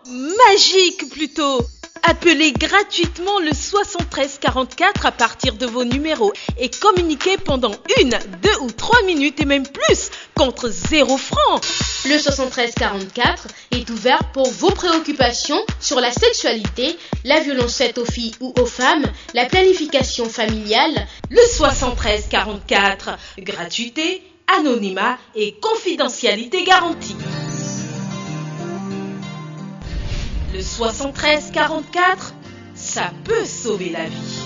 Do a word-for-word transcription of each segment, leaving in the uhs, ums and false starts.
Magique plutôt. Appelez gratuitement le soixante-treize quarante-quatre à partir de vos numéros et communiquez pendant une, deux ou trois minutes et même plus contre zéro franc. Le soixante-treize quarante-quatre est ouvert pour vos préoccupations sur la sexualité, la violence faite aux filles ou aux femmes, la planification familiale. Le soixante-treize quarante-quatre, gratuité, anonymat et confidentialité garantie. Le soixante-treize quarante-quatre, ça peut sauver la vie.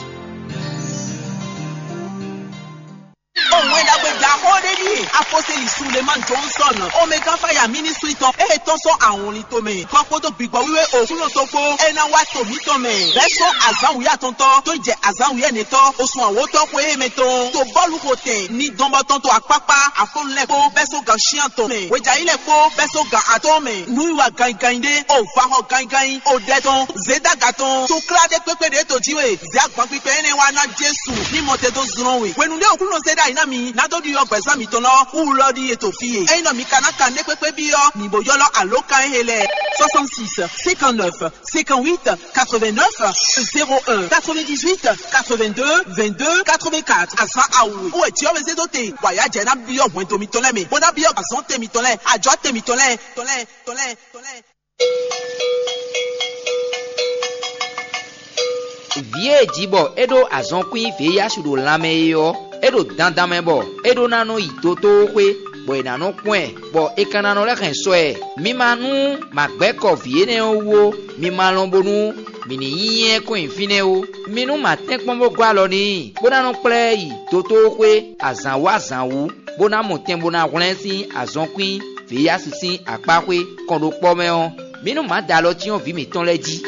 Òun é ɖagbe ɖaxó ɖé ɖíe aposteli Sulemani Johnson, Omega Fire Ministry tɔn, e tɔ́n sɔ́ awɔnlin tomɛ, kɔ kpódó gbigbɔ wíwé Òkúnɔ tɔn kpó, é ná wá to mǐtɔn mɛ, bɛ́ sɔ́ azǎn wǔyá tɔntɔ́ tó yi jɛ azǎn wǔyá nɛtɔ́, osun awǒtɔ́ xwé e mɛ tɔn, to bɔ́lu xo tɛn, ní dɔn bɔ tɔn to akpákpá, afɔ́nú lɛ́ɛ kpó, bɛ́ só gan shián tɔn mɛ, hwejayi lɛ́ɛ kpó, bɛ́ só gan atɔ́ɔ́n mɛ, nǔwiwa ganyiganyi ɖé, o va xɔ ganyiganyi, o ɖɛ tɔn, zědaga tɔn, to klá ɖé kpékpé ɖě to jí we, zě agban kpikpɛ énɛ́ wá ná Jesu, ní mɔ te dó zlɔ́n we. Hwenu ɖé Aklúnɔ zé ɖ'ayǐ ná mi, ná dó ɖiɖɔ gbɛ̌zán mitɔn lɔ, wú lɔ ɖíe to fí e. Ényí nɔ mi ka ná kan nɛ́ kpékpé byɔ́, mi bo ylɔ́ alǒkan e he lɛ́ɛ. Soixante-six, cinquante-neuf, cinquante-huit, quatre-vingt-neuf, zéro un, quatre-vingt-dix-huit, quatre-vingt-deux, vingt-deux, quatre-vingt-quatre. Azǎn awu wɛ jǐ ɔ́ wɛ zé dó te, bɔ ayǎ jɛ ná byɔ́ hwɛndo mitɔn lɛ́ɛ mɛ, bó ná byɔ́ azɔ̌ te mitɔn lɛ́ɛ, ajɔ̌ te mitɔn lɛ́ɛ, tɔn lɛ́ɛ, tɔn lɛ́ɛ, tɔn lɛ́ɛ. Vǐ e è ji bɔ é ɖó azɔnkwín vǐyásu ɖo lanmɛ é ɔ́, é ɖo dandan mɛ bɔ é ɖó ná nɔ yi dotóxwé, bɔ è nǎ nɔ kpɔ́n ɛ, bɔ è ka ná nɔ lɛ́ hɛn sɔ ɛ. Mi ma nú ma gbɛ́ kɔ vǐ énɛ́ ɔ́ wú ó; mi ma lɔn bónú mǐ ní nyí ɛ kɔn nyi fínɛ́ ó. Mi nú ma tɛ́nkpɔ́n bó gɔ́ alɔ n'i, bó ná nɔ kplá ɛ yi dotóxwé azǎn wú azǎn wú, bó ná mɔ tɛn bó ná hwlɛ́n sín azɔnkwín vǐyásu sín akpáxwé kɔn ɖo kpɔ́ mɛ ɔ́, mǐ nú mǎ da alɔ cyɔ́n vǐ mǐtɔn lɛ́ɛ jí.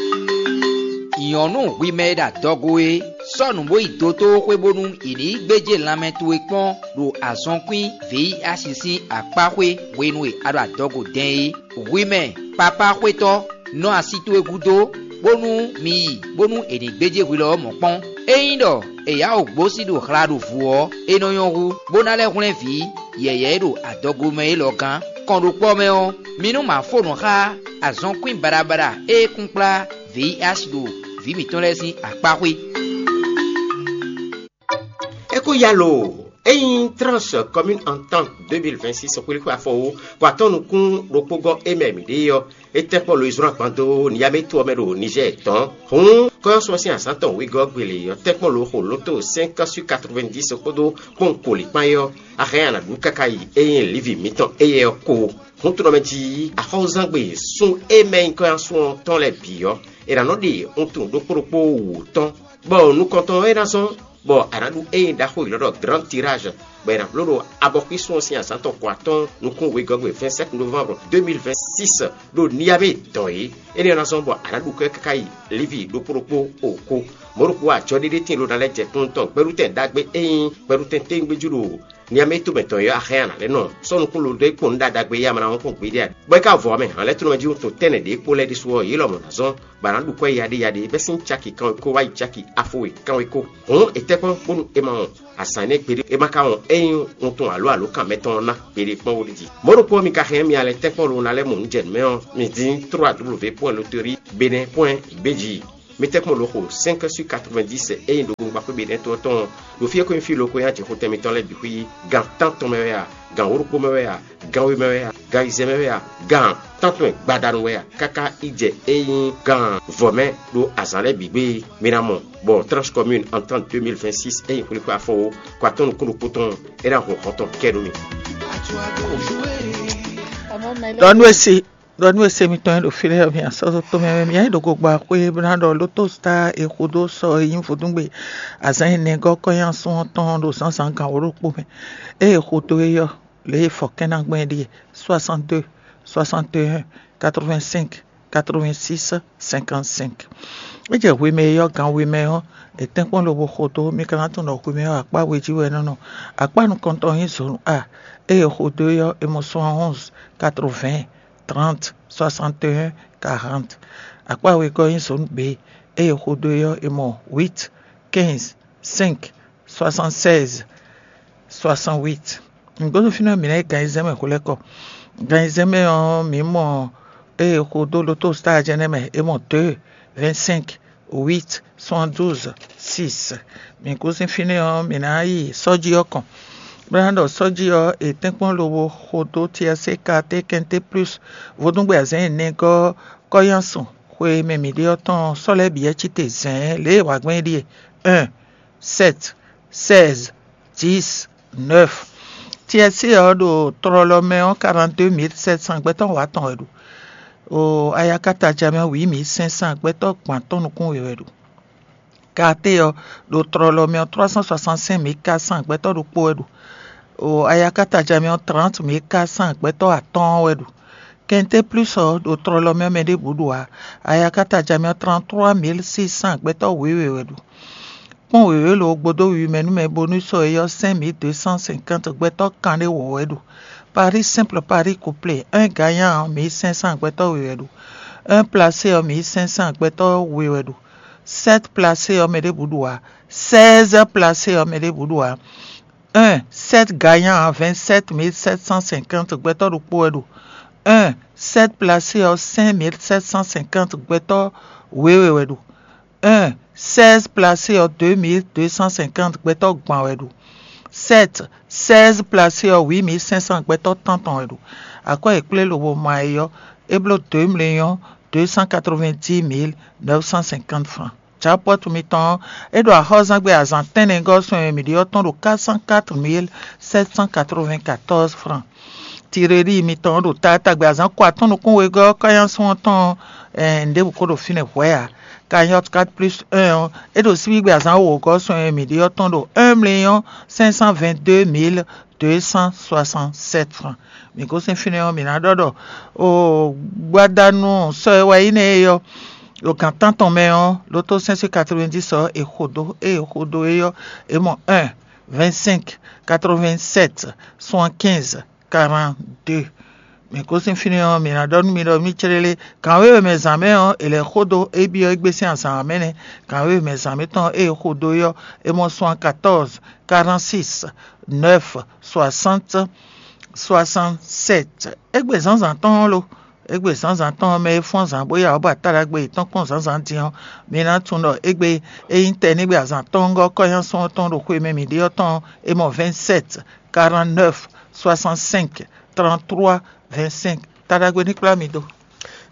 Nyɔ̌nu hwi mɛ e ɖo adɔgo é, sɔ́ nǔ bó yi dotóxwé bónú è nǐ yi gbéjé lanmɛ towe kpɔ́n ɖo azɔnkwín vǐyásu sín akpáxwé hwenu e a ɖo adɔgo dɛn é. Hwi mɛ papá xwétɔ́, nɔ asi towe gúdo, bónú mi yi bónú è nǐ gbéjé hwi lɔ ɔ́ mɔ̌ kpɔ́n. Ényí ɖɔ è yá wǔ gbósí ɖo hla ɖo vǔ ɔ́, é nɔ nyɔ́ hú, bó ná lɛ́ hwlɛ́n vǐ yɛ̌yɛ́ e ɖo adɔgo mɛ élɔ́ gán. Kɔn ɖo kpɔ́ mɛ ɔ́, mi nú ma fó nǔ xá azɔnkwín baɖabaɖa e kún kplá vǐ asi ɖo vǐ mǐtɔn lɛ́ɛ sín akpáxwé. É kó yá lo, ényí Trans Commune Entente deux mille vingt-six xwlíxwé afɔwú kɔ atɔ́ nukún ɖokpó gɔ́ é mɛ mǐ ɖe ɔ́, é tɛ́nkpɔ́n lo e zlɔ́n agban dó Niyaméto ɔ́ mɛ ɖo Nizɛ́ɛ tɔn. Hǔn kɔ́yɔ́sú ɔ́ sín azǎn tɔn wegɔ́ gbele ɔ́ tɛ́nkpɔ́n lo xo lóto cinq sur quatre-vingt-dix kpódó kpɔ́nwun koli kpán é ɔ́, a hɛn a nǎ ɖu káká yi ényí Livi mǐtɔn éyɛ́ ɔ́ kó. Hǔn tunɔ mɛ jí axɔ́zangbe sun e mɛ nyí kɔ́yɔ́sú ɔ́ tɔn lɛ́ɛ bǐ ɔ́, è nǎ nɔ ɖe wuntun ɖokpó ɖokpó wǔ tɔn, bɔ nukɔntɔn ɔ́ é ná zɔ́n bɔ a nǎ ɖu ényí ɖaxó e è nɔ ɖɔ Grand Tirage, bɔ è nǎ bló ɖo abɔxwísun ɔ́ sín azǎn tɔn ko atɔ́ɔ́n nukún wegɔ́gbe vingt-sept novembre deux mille vingt-six ɖo Niamey dɔn é. Énɛ́ ɔ́ ná zɔ́n bɔ a nǎ ɖu kɔ́ ɛ káká yi Livi ɖokpó ɖokpó o ko. Mɔ̌ ɖokpó ajɔ ɖéɖé tíin ɖó ná lɛ́ jɛ kúnnu tɔn gbɛɖutɛn ɖagbe e nyí gbɛɖutɛn téwúngbéjú ɖo Niamey tomɛ tɔn é ɔ́, axɛ́ a nǎ lɛ́ nɔ sɔ́ nukún lo dó é kpɔ́n nú ɖaɖagbe e ama ná wɔn kpɔ́n gbeɖé ǎ. Bɔ é ka vɔ ɔ́ mɛ, hǎnlɛ́tɔ́nɔmɛ jí wuntun tɛ́nnɛ ɖě kpó lɛ́ɛ ɖésú ɔ́, yě lɔmɔ̌ ná zɔ́n bɔ a nǎ ɖu kwɛ́ yaɖéyaɖé bɛ́ sín caki kanwekó wá yi caki afo e kanwekó. Hǔn è tɛ́ kpɔ́n bónú è ma wɔn azǎn énɛ́ gbeɖé, é ma ka wɔn ényí wuntun alǒ alǒkan mɛtɔn ɔ́ ná gbeɖé kpɔ́n wóɖíji. Mɔ̌ ɖokpó ɔ́, mi ka hɛn mì alɛ tɛ́nkpɔ́n lo ná lɛ́ mɔ nǔ jɛ nǔ mɛ ɔ́, mi dín trois w v point loterie benin point b j. Mi tɛ́nkpɔ́n lo xo cinq sur quatre-vingt-dix ényí ɖokpónɔ gbakpé benin tɔn tɔn ɔ́, ɖo fí e ko nyí fí lo ko nyí ajixotɛn mitɔn lɛ́ɛ bǐ xwí gan tántɔn mɛ wɛ a, gan wǒ ɖokpó mɛ wɛ a, gan we mɛ wɛ a, gan ayizɛ́n mɛ wɛ a, gan tántɔn gbadanu wɛ a, káká yi jɛ ényí gan vɔ̌ mɛ ɖo azǎn lɛ́ɛ bǐ gbe. Mi ná mɔ bɔ Tranche Commune Entente deux mille vingt-six ényí xwlíxwé afɔwó kɔ atɔ́ nukún ɖokpó tɔn é ná hun hɔn tɔn kɛ nú mi. Ɖɔ nú e se ɖɔ nú e se mitɔn e ɖo fí lɛ́ɛ ɔ́, mi asɔ́ tomɛ mɛ, mi nyí ɖo gogba xwé bó ná ɖɔ lótó star e xo dó sɔ e nyí vodúngbe azǎn ɛnɛ gɔ́ kɔ́nyásun ɔ́ tɔn ɖo zǎnzǎn gan wǒ ɖokpó mɛ. Ée è xo dó é ɔ́, lě e è fɔ kɛ́n ná gbɔn é ɖíe: soixante-deux, soixante et un, quatre-vingt-cinq, quatre-vingt-six, cinquante-cinq. É jɛ hwemɛ e ɔ́, gan hwemɛ ɔ́, è tɛ́nkpɔ́n lobo xo dó, mi ka ná tunwun ɖɔ hwemɛ ɔ́ akpá we jí wɛ é nɔ́ nɔ. Akpá nukɔntɔn nyí zǒnu A. Ée è xo dó é ɔ́, è mɔ soixante-onze, quatre-vingts, trente, soixante et un, quarante. Akpá wegɔ́ nyí zone B. Ée è xo dó é ɔ́, è mɔ huit, quinze, cinq, soixante-seize, soixante-huit. Nǔgbó fínɛ́ mǐ ná yi gan ayizɛ́n mɛ hwelɛ́kɔ. Gan ayizɛ́n mɛ ɔ́, mǐ mɔ Ée xo dó lotostáa jɛ́n nɛ́ mɛ é mɔ dě vɛ̌ncinq wít soixante-douze six. Mǐ kú sín fínɛ́ ɔ́, mǐ ná yi sɔ́jí ɔ́ kɔn, bó ná ɖɔ sɔ́jí ɔ́ è tɛ́nkpɔ́n lobo xo dó tiɛsé katé kɛnté plús vodúngbɛ azɛ̌n e nɛgɔ́ kɔ́yánsun xwe e mɛ mǐ ɖe ɔ́ tɔn sɔ́ lɛ́ɛ bǐ wɛ cí te zɛ̌n lě e è wa gbɛn é ɖíe: un, sept, seize, dix, neuf. Tiɛsé ɔ́ ɖo tlɔlɔ mɛ ɔ́, quarante-deux mille sept cents gbɛtɔ́ wǎ tɔn wɛ ɖo. O ayakata jɛ mɛ ɔ́, huit mille cinq cents gbɛtɔ́ gban tɔn nukún we wɛ ɖo. Katé ɔ́ ɖo tlɔlɔ mɛ ɔ́, trois cent soixante-cinq mille quatre cents gbɛtɔ́ ɖokpó wɛ ɖo. O ayakata jɛ mɛ ɔ́, trente mille quatre cents gbɛtɔ́ atɔ́ɔ́n wɛ ɖo. Kɛnté plús ɔ́ ɖo tlɔlɔ mɛ ɔ́, mɛ ɖěbǔ ɖo ǎ. Ayakata jɛ mɛ ɔ́, trente-trois mille six cents gbɛtɔ́ wěwe wɛ ɖo. Kpɔ́n wěwé lo gbodó wiwi mɛ nú mɛ bónú sɔ é ɔ́, cinq mille deux cent cinquante gbɛtɔ́ kanɖé wǒ wɛ ɖo. Paris simple, Paris couplé, un gagnant mille cinq cents gbɛtɔ́ we wɛ ɖo. Un placé ɔ́, mille cinq cents gbɛtɔ́ we wɛ ɖo. Sept placé ɔ́, mɛ ɖěbǔ ɖo ǎ. Seize placé ɔ́, mɛ ɖěbǔ ɖo ǎ. Un, sept gagnant, vingt-sept mille sept cent cinquante gbɛtɔ́ ɖokpó wɛ ɖo. Un, sept placé ɔ́, cinq mille sept cent cinquante gbɛtɔ́ wěwe wɛ ɖo. Un, seize placé ɔ́, deux mille deux cent cinquante gbɛtɔ́ gban wɛ ɖo. Sept, seize placé ɔ́, huit mille cinq cents gbɛtɔ́ tántɔn wɛ ɖo. Akwɛ́ e kplé lobo ma é ɔ́, é bló deux millions deux cent quatre-vingt-dix mille neuf cent cinquante francs. Japɔ́tu mitɔn ɔ́, é ɖo axɔ́zangbe azǎn tɛ́nnɛgɔ́ sɔn e mǐ ɖe ɔ́ tɔn ɖo quatre cent quatre mille sept cent quatre-vingt-quatorze francs. Tireɖi mitɔn ɔ́ ɖo taatagbe azǎn ko atɔ́ɔ́n nukún wegɔ́ ɔ́, kɔ́nyásun ɔ́ tɔn ɔ́, ɛn, ɖěbǔ ko ɖo fínɛ́ hwɛ̌ ǎ. Cagnotte quatre plus un ɔ́, é ɖo síbígbe azǎn wǒgɔ́ sɔn e mǐ ɖe ɔ́ tɔn ɖo un million cinq cent vingt-deux mille deux cent soixante-sept francs. Mǐ gosín fínɛ́ ɔ́, mǐ ná ɖɔ ɖɔ o gbadanu sɔ e wɛ nyí nɛ́ é ɔ́, ɖo gǎn tántɔn mɛ ɔ́, loto cinq cent quatre-vingt-dix ɔ́, è xo dó, ée è xo dó é ɔ́, è mɔ un, vingt-cinq, quatre-vingt-sept, soixante-quinze, quarante-deux. Mǐ gosín fínɛ́ ɔ́, mǐ ná ɖɔ nú mi ɖɔ mì céɖélé, gǎn wěwe mɛ zǎn mɛ ɔ́, è lɛ̌ xo dó é byɔ́ égbé sín azǎn ɔ́ mɛ nɛ́. Gǎn wěwe mɛ zǎn mɛ tɔn ée è xo dó é ɔ́, è mɔ soixante-quatorze, quarante-six, neuf, soixante, soixante-sept. Égbé zǎnzǎn tɔn ɔ́ lo? Égbé zǎnzǎn tɔn ɔ́, mɛ e fɔ́n zǎn bó ya wǔ ba ta ɖagbe yětɔn kpɔ́n zǎnzǎn din ɔ́, mi ná tunwun ɖɔ égbé é nyí tɛnígbe azǎn tɔn ɔ́ gɔ́ kɔ́nyásun ɔ́ tɔn ɖo xwe mɛ mǐ ɖe ɔ́ tɔn ɔ́, é mɔ vingt-sept, quarante-neuf, soixante-cinq, trente-trois, vingt-cinq. Ta ɖagbe ní kplá mi dó.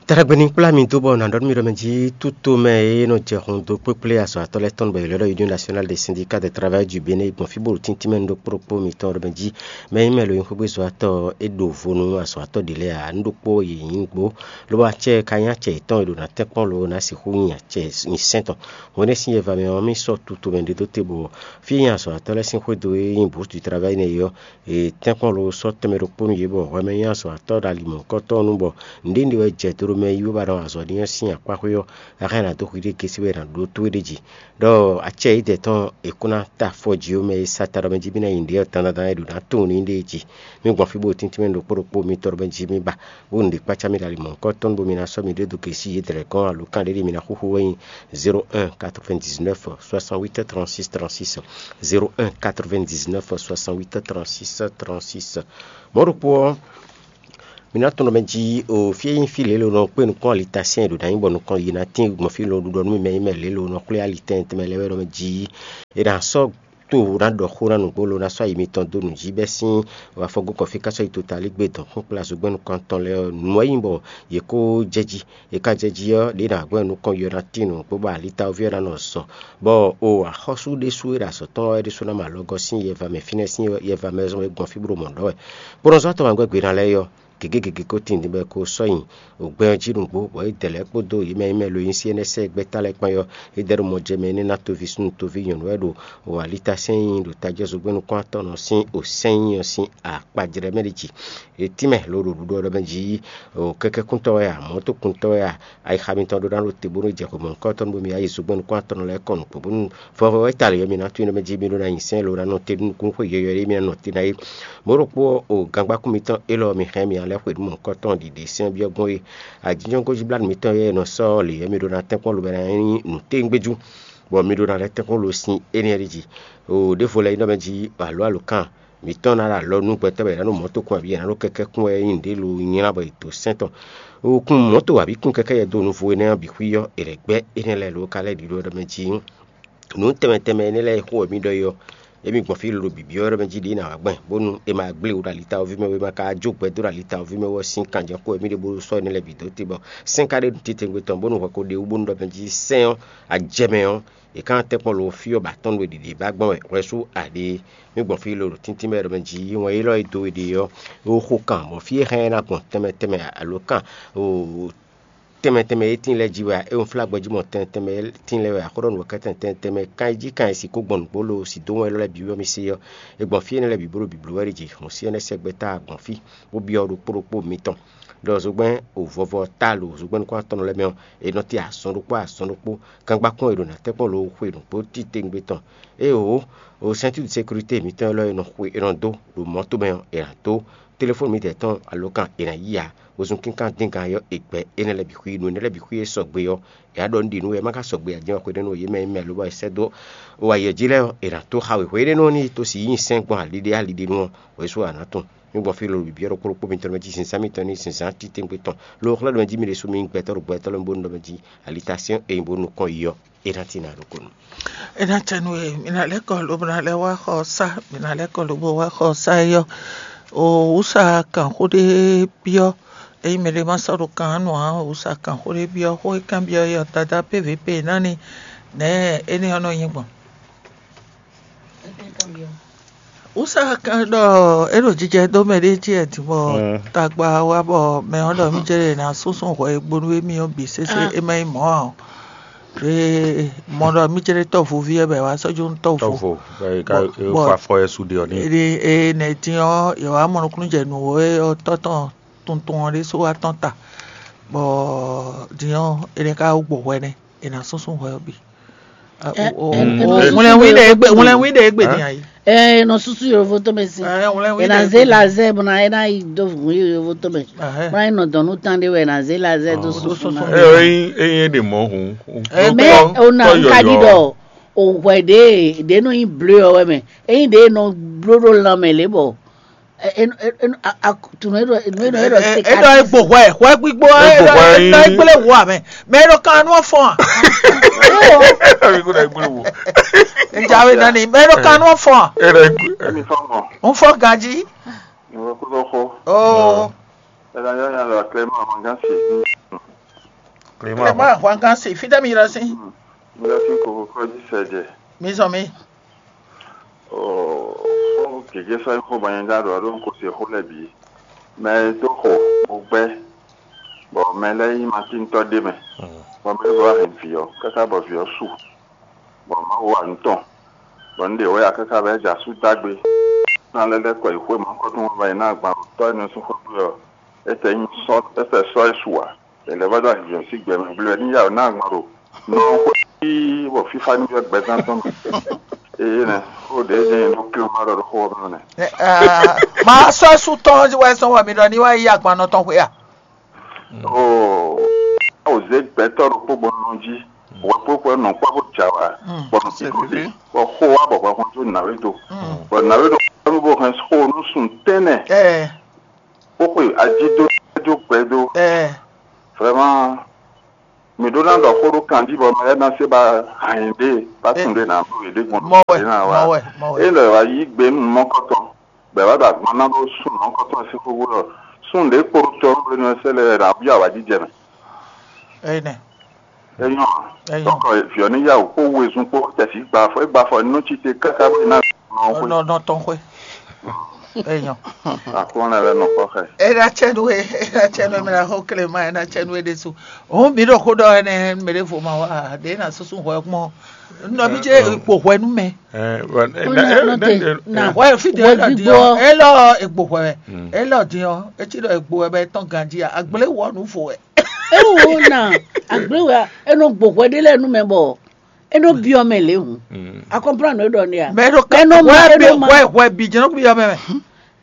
Ta ɖagbe ní kplá mi dó bɔ nǎ ɖɔ nú mi ɖɔ mɛ jí túto mɛ e nɔ jɛ hun dó kpékplé azɔ̌watɔ́ lɛ́ɛ tɔn bɔ è lɛ́ ɖɔ Union Nationale des Syndicats de Travail du Bénin gbɔn fí bó ɖo tíntín mɛ nú ɖokpó ɖokpó mitɔn ɖɔ mɛ jí mɛ nyí mɛ lo nyí xwégbé zɔ́watɔ́ ɔ́, é ɖo vo nú azɔ̌watɔ́ ɖě lɛ́ɛ ǎ. Nǔ ɖokpó yě nyí nǔgbó, lobo acɛ ka nyí acɛ yětɔn e ɖo ná tɛ́nkpɔ́n lo ná sixú nyi acɛ nyi sɛ́n tɔn. Hwenɛ́ sín yɛva mɛ ɔ́, mì sɔ́ tutu mɛ ɖé dó te bɔ fí e nyí azɔ̌watɔ́ lɛ́ɛ sín xwédo e nyí Bourse du Travail nɛ́ é ɔ́, è tɛ́nkpɔ́n lo sɔ́ tɛnmɛ ɖokpó nú yě bɔ hwɛ mɛ nyí azɔ̌watɔ́ ɖo ali mɔ̌hunkɔtɔn nu bɔ nǔɖé nǔɖé wɛ jɛ do ɖo mɛ yí bó ba ɖɔ azɔ̌ ɖi nyɔ́ sín akpá xwé ɔ́, a hɛn ná dó hwiɖée gésí bɔ è nǎ ɖó tó é ɖ'é jí. Ɖɔ acɛ yědɛɛ tɔn è kún ná ta afɔ jí ó, mɛ e sa ta ɖɔ mɛ jí mì ná nyi nǔɖé ɔ́ dandandan é ɖo ná tunwun nú nyí ɖée jí. Mì gbɔn fí bó tíntín mɛ ɖokpó ɖokpó mitɔn ɖɔ mɛ jí mì ba, bó nǔɖé kpácá mì ɖo ali mɔ̌hunkɔtɔn nu bó mi ná sɔ́ mi ɖó dó gěsí yědɛɛ lɛ́ɛ gɔ́n alǒkan ɖé ɖi mi ná xúxú wɛ nyí zéro un quatre-vingt-dix-neuf soixante-huit trente-six trente-six, zéro un quatre-vingt-dix-neuf soixante-huit trente-six trente-six. Mɔ̌ ɖokpó ɔ́, mi ná tunwun ɖɔ mɛ jí o fí e nyí fí lě lo nɔ kpé nukɔn alitasiɛn ɖo ná nyí bɔ nukɔn yi ná tín gbɔn fí lo ɖuɖɔ nú mi mɛ nyí mɛ lě lo nɔ xwlé alitɛn tɛnmɛ lɛ́ɛ wɛ ɖɔ mɛ jí è nǎ sɔ́ to ná ɖɔ xó ná nǔgbó lo ná sɔ́ ayi mitɔn dó nǔ jí bɛ́ sín afɔgókɔfí ká sɔ́ yi totalígbe dɔn xó kplá zogbɛ́n nukɔntɔn lɛ́ɛ ɔ́, nǔ ɔ́ nyí bɔ yě kó jɛ jí. È ka jɛ jí ɔ́, ɖě nǎ gbɔn nukɔn yi ɔ́ ná tín nǔ bó ba alitawoví ɔ́ ná nɔ zɔ, bɔ o axɔ́sú ɖésú e ɖo azɔ̌ tɔn ɔ́, é ɖésú ná mɔ alɔgɔ́ sín yɛva mɛ fínɛ́ sín yɛva mɛ zɔn e gbɔn fí bó ɖo mɔ̌ ɖɔ wɛ. Kpɔ́nɔzɔ́ atɔn wǎn gbɛ́ gbe ná lɛ́ɛ é ɔ́, gěgé gěgé ko tíin bɔ é ko sɔ́ nyi ògbɛ́ ɔ́ jí nǔgbó, bɔ é dɛ lɛ́ɛ kpódó yě mɛ e mɛ lo nyí sí énɛ́ sɛ́ gbɛ́ta lɛ́ɛ kpán ɔ́, é dɛ ɖo mɔ jɛ mɛ énɛ́ ná toví súnnu toví nyɔ̌nu wɛ ɖo o alita sɛ́n nyi ɖo tajɔ́ zogbɛ́n nukún atɔn nɔ sín o sɛ́n nyi ɔ́ sín akpajlɛ́ mɛ ɖi jí. È tínmɛ lo ɖo ɖuɖɔ ɖɔ mɛ jí o kɛ́kɛ́kúntɔ́ wɛ a, mɔ̌tokúntɔ́ wɛ a, ayixa mitɔn ɖó ná ɖo te bónú jɛ xwe mɔ̌hunkɔtɔn bó mi yá yi zogbɛ́n nukún atɔn lɛ́ɛ kɔ nukpó bónú vɔvɔ wɛ ta lě ɔ́ mi ná tunwun ɖɔ mɛ jí mi ɖó ná nyi sɛ́n lo ná nɔ te nú nukúnxwe yɔ̌yɔ́ ɖé mi ná nɔ te ná é. Mɔ̌ ɖokpó ɔ́, o gangbákún mitɔn élɔ́ mi hɛn mi ná lɛ́ xwedó mɔ̌hunkɔtɔn ɖiɖe sɛ́n byɔ́ gbɔn é. Ajínjɔ́n gojíblánú mitɔn e nɔ sɔ́ lě ɔ́ mi ɖó ná tɛ́nkpɔ́n lobo ná nyí nǔtéŋgbéjú, bɔ mi ɖó ná lɛ́ tɛ́nkpɔ́n lo sín énɛ́ ɖi jí. O ɖěvo lɛ́ɛ nyí ɖɔ mɛ jí alo alo kan mǐtɔn ná ɖo alɔ nú gbɛtɔ́ bɔ è nǎ ɖo mɔ̌ tokun abǐ è nǎ ɖo kɛkɛ́ kún wɛ é nyí nǔɖé lo nylá bɔ è dǒ sɛ́n tɔn. Wokun mɔ̌ to abǐ kún kɛkɛ́ yɛ dó nǔvo énɛ́ ɔ́ bǐ xwí ɔ́, è lɛ̌ gbɛ́ énɛ́ lɛ́ɛ lo ka lɛ́ ɖi ɖó ɔ́ ɖɔ mɛ jí. Nǔ tɛnmɛ tɛnmɛ énɛ́ lɛ́ɛ e xó wɛ mǐ ɖɔ é ɔ́, émí gbɔn fí lolo bǐbí ɔ́ ɖɔ mɛ jí ɖě ná wǎ gbɛn, bónú è ma gblé wǔ ɖo ali tawɔví mɛ bó ma ka jó gbɛ dó ɖo ali tawɔví mɛ wɛ sín kanjɛxó wɛ mǐ ɖe bó sɔ́ énɛ́ lɛ́ɛ bǐ dó te bɔ sɛ́n ka ɖe nǔ titewungbe tɔn bónú hwɛ ko ɖe wú bónú ɖɔ mɛ jí sɛ́n ɔ́, ajɛ mɛ ɔ́, è ka ná tɛ́nkpɔ́n lo fí ɔ́ ba tɔ́n nú è ɖiɖi ba gbɔn wɛ hwɛsú aɖé. Mǐ gbɔn fí lolo tíntín mɛ ɖɔ mɛ jí wɛn élɔ́ e dó we ɖe ɔ́, é xo kan mɔ̌ fí e hɛn ɛ ná gbɔn tɛnmɛ tɛnmɛ alo kan tɛnmɛ tɛnmɛ e tíin lɛ́ɛ jí wɛ a? É wunflágbɛjí mɔ tɛnmɛ tɛnmɛ e tíin lɛ́ɛ wɛ a? Xó ɖɔ nǔ wɛ kɛ́tɛn tɛnmɛ tɛnmɛ kan e jí kan e sixú gbɔn nǔgbó lo si dó wɛn élɔ́ lɛ́ɛ bǐ wɛ mì se ɔ́, è gbɔn fí énɛ́ lɛ́ɛ bǐ bó ɖo bǐbló wɛ ɖi jǐ. Hɔn sí énɛ́ sɛgbɛ́ táá gbɔn fí, bó byɔ́ ɖokpó ɖokpó mitɔn ɖɔ zogbɛ́n o vɔvɔ ta lo zogbɛ́n nukún atɔ́nɔ lɛ́ɛ mɛ ɔ́, è nɔ te azɔn ɖokpó azɔn ɖokpó. Gangbákún e ɖo nǎ tɛ́nkpɔ́n lo xwe nǔgbó titewungbe tɔn. Éeǒ, o sɛ́ntúdu sékurité mǐtɔn élɔ́ e nɔ xwe è nɔ dó ɖo mɔ̌ tomɛ ɔ́, è nǎ dó. Telefɔ́ni mitɔn tɔn alokan è nǎ yí ǎ. Wezun kínkan dín gan ɔ́, è gbɛ énɛ́ lɛ́ɛ bǐ xwí. Nǔ énɛ́ lɛ́ɛ bǐ xwí e sɔgbe ɔ́, è nǎ ɖɔ nǔ ɖi nǔ wɛ é má ka sɔgbe ǎ, jɛ́n wɛ xwedó nú yě mɛ e mɛ lobɔ è sɛ́ dó o ayǐ jí lɛ́ɛ ɔ́, è nǎ tó xa wěxwé énɛ́ nɔ n'i tó si yí sɛ́n gbɔn aliɖé aliɖé nu ɔ́, wěsu a nǎ tunwun. Mǐ gbɔn fí lolo bǐbí ɔ́ ɖokpó ɖokpó mitɔn mɛ jí zǐnzán mitɔn ní zǐnzán titewungbe tɔn. Lo xlɛ́ ɖɔ mɛ jí mi ɖésú mi nyí gbɛtɔ́ ɖo gbɛtɔ́ lɛ́ɛ bó nú ɖɔ mɛ jí ali ta syɛ́n e nyí bó nú kɔn yi ɔ́, é ná tín ná ɖokpónɔ. É ná cɛ nú we, mi ná lɛ́ kɔ lobo ná lɛ́ wá xɔ sá, mi ná lɛ́ kɔ lobo wá xɔ sá é ɔ́. O wǔsa kan xó ɖé byɔ́, ényí mɛɖé má sɔ́ ɖo kan nú ǎ, wǔsa kan xó ɖé byɔ́, xó e kanbyɔ́ é ɔ́, Dadá P V P ná ni nɛ̌ énɛ́ ɔ́ nɔ nyí gbɔn. Wǔsa kan ɖɔ é ɖo jijɛ dó mɛ ɖé jí wɛ din bɔ tagba wá bɔ mɛ ɔ́ ɖɔ mí jɛ ɖe ná súnsún hwɛ e gbónú émí ɔ́ bǐ sésé é má nyí mɔ̌ ǎ ɔ́. Ɖě mɔ ɖɔ mí jɛ ɖe tɔ́ vo ví wɛ bɔ è wá sɔ́ jó nú tɔ́ vo. Tɔ́vo bɔ è ka Bɔ- bɔ- è fa afɔ ɛ su ɖe ɔ́ n'i. Ede e nɛ din ɔ́, yě wá mɔ nukúnnú jɛ nǔ e ɔ́ tɔ́ tɔn tuntun ɔ́ ɖésú wá tɔn ta, bɔ din ɔ́, è nɛ ka wú gbɔ hwɛ nɛ́, è nǎ súnsún hwɛ ɔ́ bǐ. Ɛ, O- o- ɛ, o- ɛ, Wlɛnwí ɖe egbe, wlɛnwí ɖe egbe din ayi. Ɛ, nɔ susu yovo tɔn mɛ si. Ɛ, wlɛnwí Ena ɖe ze egbe. La ze buna ena yi do vun yovo tɔn mɛ. Ahɛ. Buna yi nɔ dɔn nu tan de wɛ na ze la ze do Ɔ, susu susu na. Ɛ, eyin eyin e ɖe mɔ hun. Ɛ, Mɛ o na ka ɖi ɖɔ o hwɛ ɖe ɖe nɔ yi ble ɔ wɛ mɛ. Eyin ɖe nɔ blo ɖo lan mɛ le bɔ. Ɛ, ɛ, ɛ, ɛ, a- a- tunu eɖɔ enu eɖɔ eɖɔ se Eɖɔ ka. Egbo hwɛ, hwɛ gbígbó Egbo eɖɔ hwɛ eɖɔ yí. Egblé wò amɛ. Mɛ eɖɔ kan nú ɔfɔn a. Ami ko na egblé wo. Njawe nani, mɛ eɖɔ kan nú ɔfɔn a. Era egblé. Emi fɔ mɔ. N fɔ ganji. Ìwọ kúrò xó. Oo. Ẹ̀dá yọ yan lọ Clément Amangasi. Clément. Clément Amangasi, fidemi yɛrɛ si. Yẹrẹ si kò kọjú sẹ̀jẹ̀. Mi zɔn mi. Ó gěgé sɔ́ nyí xó bɔ nyɛ ɖo aɖó kó se xó lɛ́ɛ bǐ. Mɛ e dó xo bó gbɛ́, bɔ mɛ lɛ́ɛ nyí Matíntɔ́ ɖé mɛ, bɔ mɛ lɛ́ɛ bɔ wá hɛn vǐ ɔ́, káká bɔ vǐ ɔ́ su, bɔ Mawu wa nǔ tɔn, bɔ un ɖe wɛ ya káká bɔ é jɛ asú dó agbe. Ná lɛ́ lɛ́ kɔ yi xwé mɔ̌hunkɔtɔn bɔ è nǎ agban ɖo tɔ́ énɛ́ sín xwé gbe ɔ́, é tɛ nyí sɔ́ é tɛ sɔ́ é su ǎ. È lɛ́ vɔ́ dó azinzɔn sín gbɛ mɛ gblé wɛ ní yá wǒ ná agban ɖo nɔ xwé bɔ fífá ní vɛ́ gbɛzán tɔn mɛ. Eye nɛ, xó ɖě jɛ́n nyɛ ɖó klé ma ɖɔ ɖó xó ɔ́ mɛ nɛ. Ma sɔ́ sú tɔn wɛ sɔ́ wɔ mi ɖɔ ní wá yí agban nɔ tɔn xwé a? Oo, o zě gbɛtɔ́ ɖokpó gbɔn nɔ jí, wɛkpókpó nɔ kpɔ́ bó jà wá, bɔ nɔ sí kó dé, bɔ xó wá bɔ hwɛhwɛn dó nǎwé do, bɔ nǎwé ɖo kpɔ́ bó hɛn xó nú sun tɛ́nɛ, Ɛɛ, bó xwe ají dó, dó gbɛ dó. Ɛɛ, Vraiment, mǐ ɖó ná ɖɔ xó ɖó kanjí bɔ mɛ lɛ́ɛ ná se ba hɛn ɖě ba tunwun ɖě ná ɖó yě ɖě gbɔn mɔ wɛ, ɖě ná wá. Mɔ wɛ, mɔ wɛ. É lɛ wá yí gbe nú mɔkɔtɔn, bɔ è wá ɖo agban ná ɖó súnnu mɔkɔtɔn sín xóxó ɖɔ súnnu ɖě kpo ɖo tɔ nú hwenu e sɛ́ lɛ́ɛ wɛ ná byɔ́ awǎjijɛ mɛ. Ɛnɛ. É nyɔ́ ǎ. É nyɔ́. Donc, vǐ ɔ́ ní yá wǔ kpó wezun kpó tɛ̌sí gba afɔ, é gba afɔ nú cí te káká bó ná nɔ xwé. Nɔ nɔ tɔn xwé. É nyɔ́. Àkúnlẹ̀ lɛ nɔ kpɔ́ xɛ. É ná cɛ nú é, é ná cɛ nú é mɛ ná xó klema, é ná cɛ nú é ɖésú. Òun mǐ ɖo xó ɖɔ ɛnɛ mɛ ɖěvo ma wá ɖě ná súsú hwɛ kpɔn. Nɔ bí jẹ́ ipò hwɛ nú mɛ. Ɛ, wɛ, ɛ, Ó ná ɛ, nɔ ɛ, te ɛ, na Wɛ fi de wɛ é lɔ di gbígbó ɔ, é lɔ egbo hwɛ wɛ. Mm. É lɔ di ɔ, é ci ɖɔ egbo wɛ bɛ tɔn ganji a, agble wɔ nu fo wɛ. Ewu na agble wɛ e nɔ gbo hwɛ ɖe lɛ nu mɛ bɔ e nɔ biɔ mɛ le hu. Mm. A comprendre ɖɔ ne a? Mɛ ɖo ka Mɛ nɔ ma, wɛ e bi nɔ ma. Wɛ wɛ bi jɛnɛ bi yɔ mɛ mɛ.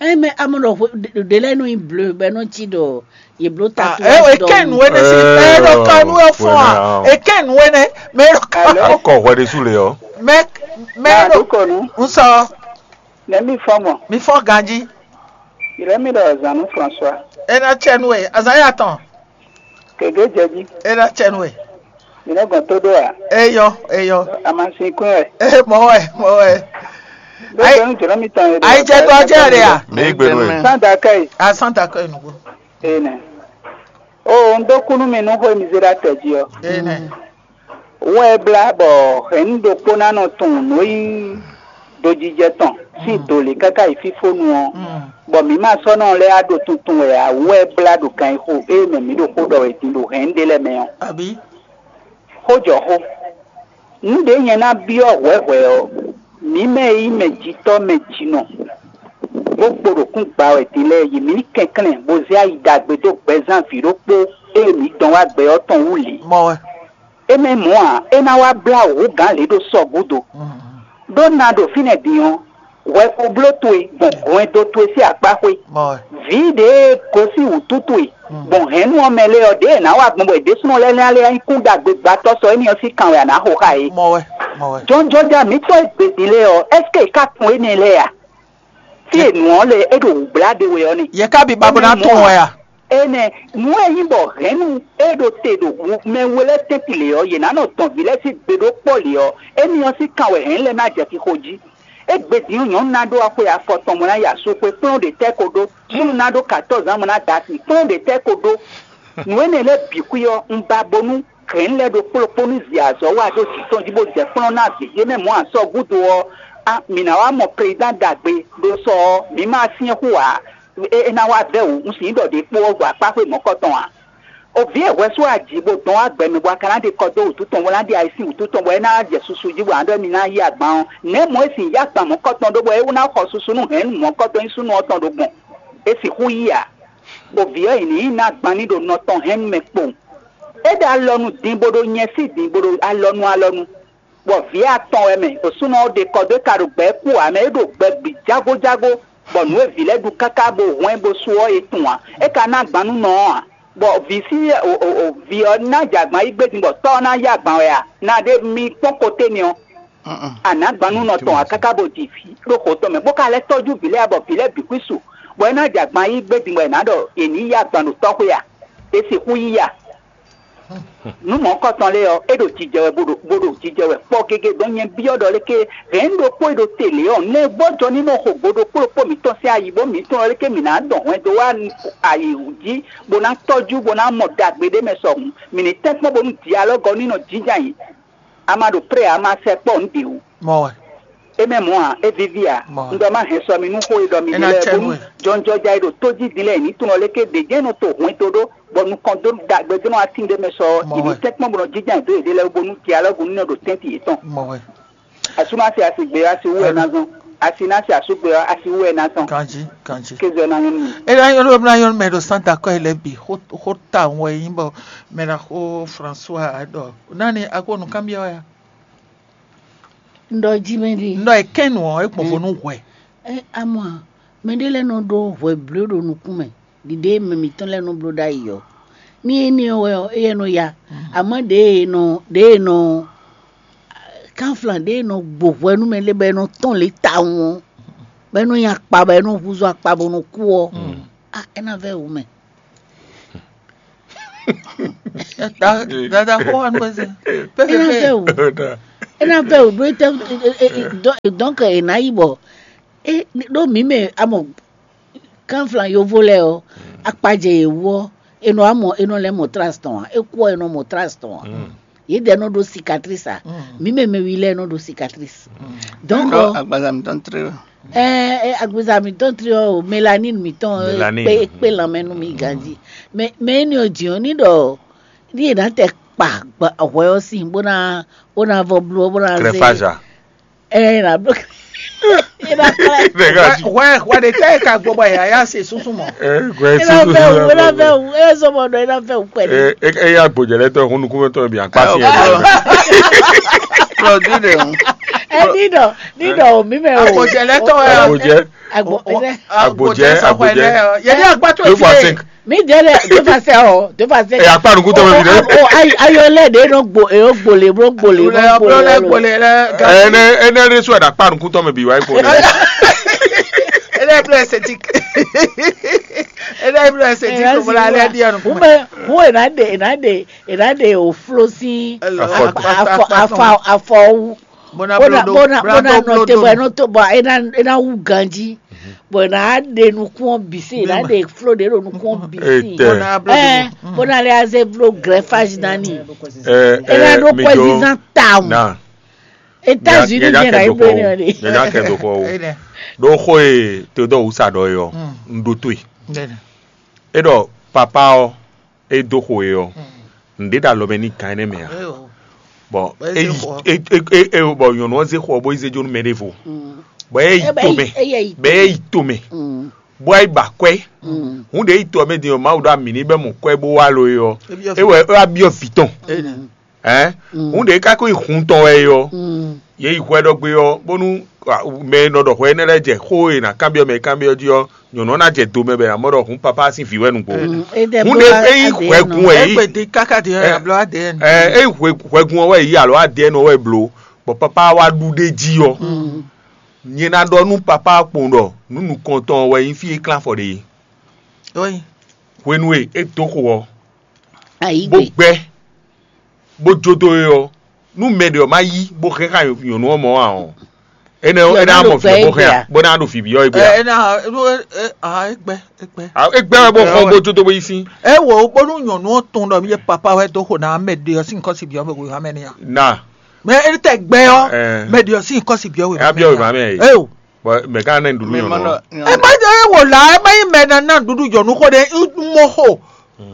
Ɛ mɛ amɔ ɖɔ hwe- ɖe- ɖe lɛ nɔ yi bleu bɛ nɔ ci ɖɔ ye blo ta Ah, to e e dɔ kɛ wu. Nu wɛ ne si Ɛ, mɛ ɖo ka nu wɛ fɔn a? Wɛ ne a. E kɛ nu wɛ ne mɛ ɖo ka nu. Akɔ hwɛ ɖe su le ɔ. Mɛ mɛ Ah, ɖo do kɔ nu. N sɔ. Nɛ̌ mi fɔ mɔ? Mi fɔ ganjí. Ylɔ́ mì ɖɔ Zanu François. É ná cɛ nú we, azǎn ya tɔn. Gěgé jɛ jí. É ná cɛ nú we. Mi nɔ gɔn tó ɖó a? Eyɔ, eyɔ. Amasin kún wɛ. Ee, mɔ wɛ, mɔ wɛ. Ɖó Ayi- gbɛnu jɔlɔ mi tɔn yɛ. Ayi jɛ dɔ jɛ ɖe a? Mi gbe nú ɛ. Santa kɛ yi. A Santa kɛ yi nugo. Ee nɛ. O, un dó kú nú mi nú xó e mi zé ɖó atɛ jí ɔ́. Ee nɛ. Wɛ blá bɔ hɛ̌nnu ɖokpó ná nɔ tunwun nǔ e nyí dojijɛ tɔn sín do lě káká yi fífónu ɔ́, bɔ mǐ ma sɔ́ nɔ lɛ́ wá ɖo tuntun wɛ ǎ wú wɛ blá ɖo ganxixo ée mɛ mǐ ɖo xó ɖɔ wɛ din ɖo hɛ̌nnu ɖé lɛ́ɛ mɛ ɔ́. Abǐ? Xó jɔ xó. Nǔ ɖě nyɛ ná byɔ́ hwɛ̌hwɛ̌ ɔ́, mǐ mɛ e nyí mɛjitɔ́ mɛjinɔ, bó kpo ɖo kún gba wɛ din lɛ́ɛ yi mǐ ní kɛnklɛ́n bó zé ayi ɖagbe dó gbɛzán vǐ ɖokpó e mǐ dɔn wá gbɛ ɔ́ tɔn wú lě. Mɔ wɛ. Énɛ́ mɔ̌ ǎ, é ná wá blá wǔ gǎn lě ɖo sɔ gúdo. Ɖó na ɖo fínɛ́ din ɔ́, hwɛxobló towe gbɔn hwɛndo towe sín akpá xwé. Mɔ wɛ. Vǐ ɖě e gosín wǔtú towe gbɔn hɛ̌nnu ɔ́ mɛ lɛ́ɛ ɔ́, ɖěe è nǎ wa gbɔn bɔ è ɖésúnɔ lɛ́ lɛ́n alé nyí kún ɖagbe gbɛtɔ́ sɔ énɛ́ ɔ́ sín kan wɛ a nǎ xo xá é. Mɔ wɛ, mɔ wɛ. Jɔnjɔja mǐtɔn e gbedin lɛ́ɛ ɔ́, ɛ́seke è ká tunwun énɛ́ lɛ́ɛ a? Fí e nǔ ɔ́ lɛ é ɖo wǔ blá ɖe wɛ ɔ́ nɛ́. Yɛ ká bi babó ná Énɛ́ tunwun mɔ̌ wɛ a? Énɛ́ nǔ e nyí bɔ hɛ̌nnu e ɖo te ɖo mɛ we lɛ́ɛ tɛ́ntin lě ɔ́, yě ná nɔ dɔn vǐ lɛ́ɛ sín gbe ɖó kpɔ́ lě ɔ́, énɛ́ ɔ́ sín kan wɛ hɛ̌nnu lɛ́ɛ ná jɛ xixo jí. Égbé din ɔ́, nyɔ̌nu ná ɖó axwe afɔtɔn bó ná yi asúxwé kplɔ́n ɖě tɛ́ ko ɖó, súnnu ná ɖó katɔ́ɔ́zǎn bó ná da asi kplɔ́n ɖě tɛ́ ko ɖó. Nǔ énɛ́ lɛ́ɛ bǐ xwí ɔ́, un ba bónú hɛ̌nnu lɛ́ɛ ɖo kplɔ́kpó ní zi azɔ̌ wa ɖó jǐ tɔn jí bó jɛ kplɔ́n ná vǐ ce mɛ mɔ̌ asɔ́ gúdo ɔ́, á, mǐ ná wá mɔ prezidán ɖagbe ɖo sɔ ɔ́, mǐ ma syɛ́n xú ǎ. É é ná wá vɛ́ wǔ, un sǐ ɖɔ ɖě kpó ɔ́ gbɔ akpáxwé mɔ̌kɔtɔn ǎ. O vǐ e hwɛ sú aji bó dɔn wá gbɛ mɛ bɔ a ka ná ɖe kɔ dó wǔtu tɔn bó ná ɖe ayi sín wǔtu tɔn bɔ é ná jɛ susu jí bɔ a nǎ ɖɔ émí ná yí agban ɔ́, nɛ̌ mɔ̌ é sin yí agban mɔ̌kɔtɔn ɖó bɔ é ná xɔ susu nú hɛ̌nnu mɔ̌kɔtɔn nyí súnnu ɔ́ tɔn ɖo gbɔn? É sixú yí ǎ. Bɔ vǐ ɔ́, è nǐ yi ná gban ní ɖo nɔ tɔn hɛ́nnu mɛ kpowun. É ɖo alɔnu din bó ɖo nyɛ sí din bó ɖo alɔnu alɔnu, bɔ vǐ atɔn wɛ mɛ, ɖo súnɔ ɔ́ ɖe kɔ dó é ka ɖo gbɛ kú ǎ mɛ, é ɖo gbɛ bǐ jágójágó, bɔ nǔ e vǐ lɛ́ɛ ɖu káká bó hwɛ́n bó sú ɔ́, è tunwun ǎ. É ka ná gban nú nɔ ɔ́ ǎ, bɔ vǐ sí o o o vǐ ɔ́ ná jɛ agban yí gbé din bɔ tɔ́ ɔ́ ná yá agban wɛ a? Na ɖé mi kpɔ́n koté n'i ɔ́, a nǎ gban nú nɔ tɔn ǎ káká bó ji vǐ ɖó xo tɔn mɛ, bó ka lɛ́ tɔ́jú vǐ lɛ́ɛ ǎ, bɔ vǐ lɛ́ɛ bǐ xwí su, bɔ é ná jɛ agban yí gbé din bɔ è nǎ ɖɔ è nǐ yí agban ɖo tɔ́xwé a? È sixú yí a? Nǔ mɔ̌hunkɔtɔn lɛ́ɛ ɔ́, é ɖo jijɛ wɛ bó ɖo bó ɖo jijɛ wɛ kpɔ́ gégé. Dɔn nyɛ byɔ́ ɖɔ léké hɛ̌n ɖokpó e ɖo te lě ɔ́, nɛ́ gbɔ́jɔ ní nɔ xo gbo ɖokpó ɖokpó mǐtɔn sín ayǐ bó mǐ tunwun ɖɔ léké mǐ ná dɔn hwɛndo wá ayǐ jí bó ná tɔ́jú bó ná mɔ ɖagbe ɖé mɛ sɔhun. Mǐ ní tɛ́nkpɔ́n bónú dialɔ́gɔ ní nɔ jínjɔ́n ayǐ. A ma ɖo pré ǎ, a ma sɛ kpɔ́ nǔ bǐ wú. Mɔ wɛ. É mɛ mɔ̌ ǎ, é víví ǎ. Mɔ wɛ. Un ɖɔ má hɛn sɔ mi nú xó e ɖɔ mi É ɖe ná lɛ́ɛ cɛ nú bónú ɛ. Jɔnjɔja e ɖo tó jí din lɛ́ɛ ní tunɔ léké ɖě jɛ́n nɔ to hwɛndo ɖó bɔ nukɔn dó ɖagbe dó nɔ atín ɖé mɛ sɔ Mɔ ɔ́, wɛ. Mǐ ní tɛ́nkpɔ́n bó nɔ jínjɔ́n ayǐ dó yěɖée lɛ́ɛ wú bónú dialɔ́gu ní nɔ ɖo tɛ́ntin yětɔn. Mɔ wɛ. Asú ná se asi gbé ɔ́, asi wú wɛ ná zɔn. Asi ná se asú gbé ɔ́, asi wú wɛ ná zɔn. Ganji, ganji. Kéze ɔ́ ná nyɔ́ nú mi. É ná nyɔ́ nú ná nyɔ́ nú mɛ ɖo Santa kɔ́ yi lɛ́ɛ bǐ xó xó ta wɛ nyí bɔ mɛ ná xó François ɖɔ nani akó nǔkanbyɔ́ wɛ a? Un ɖɔ jí mɛ ɖi. Un ɖɔ è kɛ́n nǔ ɔ́, é gbɔn vo nú hwɛ. Ɛ amɔ a, mɛɖé lɛ́ɛ nɔ ɖó hwɛ bló ɖo nukún mɛ, ɖiɖe e mɛ mǐtɔn lɛ́ɛ nɔ bló ɖ'ayǐ ɔ́. Ní énɛ́ ɔ́ wɛ ɔ́, éyɛ́ nɔ ya. Amɔ̌ ɖěe è nɔ ɖěe è nɔ kánflan ɖěe è nɔ gbo hwɛ nú mɛ lɛ́ɛ bɔ è nɔ tɔ́n lě tawun ɔ́, bɔ é nɔ nyi akpa bɔ é nɔ húzú akpa bó nɔ kú ɔ́, á é ná vɛ́ wǔ mɛ. Dada xó wa nú eze. É ná vɛ́ wǔ. É ná vɛ́ wǔ ɖó é tɛ donc è nǎ yi bɔ é ɖó mǐ mɛ amɔ kánflan yovo lɛ́ɛ ɔ́, akpajɛ yě wú ɔ́, è nɔ wá mɔ è nɔ lɛ́ mɔ tras tɔn ǎ, é kú ɔ́ è nɔ mɔ tras tɔn ǎ. Yědɛɛ nɔ ɖó cicatrice ǎ, mǐ mɛ mɛ wi lɛ́ɛ nɔ ɖó cicatrice. Donc Ɖɔ agbaza mǐtɔn tlé ɔ. Ɛɛ agbaza mǐtɔn tlé ɔ́, mélanine mǐtɔn Mélanine. Kpé kpé lanmɛ nú mi ganji. Mais mais énɛ́ ɔ́ jǐ ɔ́ ní ɖɔ ní è nǎ tɛ kpa hwɛ ɔ́ sín bó ná bó ná vɔ bló bó ná zé. Crépage a? Ɛ na bló. Ina kpɛlɛ. Nɛgɛ Wɛ wɛ wɛ de tɛ ka gbɔ bɔ yaya se sunsun mɔ. Ɛ gbɛ Ina susu fɛ wu, ina fɛ wu, ina sɔmɔ dɔ, ina fɛ wu pɛlɛ. Ɛ ɛ ya gbɔjɛ lɛ tɔ hun nukun tɔ bi akpa si yɛ. Lɔ di de hun. Ɛ ni dɔ, ni dɔ o mi mɛ o. Agbɔjɛ lɛ tɔ yɛ. Agbɔjɛ. Agbɔ. Agbɔjɛ, agbɔjɛ. Yɛ ni agba to Deux fois cinq. Mi jɛ lɛ, de fa sɛ o, de fa sɛ. Ɛ akpa nukun tɔ mɛ bi dɛ. O ayi ayɔ lɛ de no gbo, e o gbole, bro gbole, bro gbole. Ɛ ne ɛ ne resu ɛ da akpa nukun tɔ mɛ bi wa e gbole. Ɛ blɔ ɛsɛ ti. Ɛ ɖe blɔ ɛsɛ ti ko bla lɛ di anu. Kuma. Kuma ena de ena de ena de o flo si. Afɔ afɔ afɔ wu. Bona bona bona nɔ te bɔ ena to bɔ ena ena wu ganji. Bɔ ena de nukun bisi ena de flo de ɖo nukun bisi. Ɛ bona le aze blo greffage nani. Ena ɖo kɔɛ zizan tawu. États-Unis jɛ na ibrahim de. Nyanya kɛ do xɔ o. Ɖo xɔ e Teodoro wusa ɖɔ e ɔ, un ɖo to e. E ɖɔ papa ɔ, e do xɔ e ɔ, un ɖe ɖo alɔ mɛ ní gan énɛ́ mɛ a? Bɔn e bɔ nyɔ̌nu ɔ́ zé xɔ bó yi zé jó nú mɛ ɖěvo. Bɔn e yi to mɛ, bɛ e yi to mɛ, bó yi ba kwɛ. Hun ɖe yi to mɛ din ɔ, Mawu ɖo ami ní bɛ mɔ kwɛ bó wá lo e ɔ, e wɛ e wá byɔ́ vǐ tɔn. Ɛn, un ɖe ká ko yi hun tɔn wɛ é ɔ́, yě yi hwɛ ɖɔ gbé ɔ́, bónú mɛ e nɔ ɖɔ hwɛ énɛ́ lɛ́ɛ jɛ xó e è nǎ kanbyɔ́ mɛ e kanbyɔ́ jí ɔ́, nyɔ̌nu ɔ́ ná jɛ do mɛ bɔ è nǎ mɔ ɖɔ hun papá sín vǐ wɛ nǔgbó. Hun ɖé é nyí hwɛgun wɛ é yí. Ɛ é nyí hwɛgun ɔ́ wɛ é yí alo A D N ɔ́ wɛ é bló, bɔ papá wá ɖu ɖ'é jí ɔ́, nyɛ ná ɖɔ nú papá kpowun ɖɔ nǔ nukɔntɔn wɛ nyí fí e klán afɔ ɖe é. Hwenu e é dó xo ɔ́, bó gbɛ́, bó jó dó é ɔ́, nú mɛ ɖě ɔ́ má yí bó hɛn xá nyɔ̌nu ɔ́ mɔ ǎ ɔ́, énɛ́ ɔ́, é ná mɔ vǐ ɔ́ bó hɛn ǎ, bó ná ɖo vǐ byɔ́ é gbé ǎ. Ɛ ná é gbɛ é gbɛ. É gbɛ́ wɛ bó xɔ bó jó dó bó yí sín. É wǒ bónú nyɔ̌nu ɔ́ tunwun ɖɔ mí yé papá wɛ dó xo ná mɛ ɖě ɔ́ sín kɔ́ si byɔ́ mɛ wěwá mɛ ní a. Na. Mɛ é tɛ gbɛ ɔ́, mɛ ɖě ɔ́ sín kɔ́ si byɔ́ wěwá mɛ ní a. Bɔ mɛ ka ná nɖuɖu nyɔ̌nu ɔ́. Ɛ má jẹ́ é wò lá, ɛ má nyí mɛ ná ná nɖuɖu nyɔ̌nu xó ɖé, mɔ xo.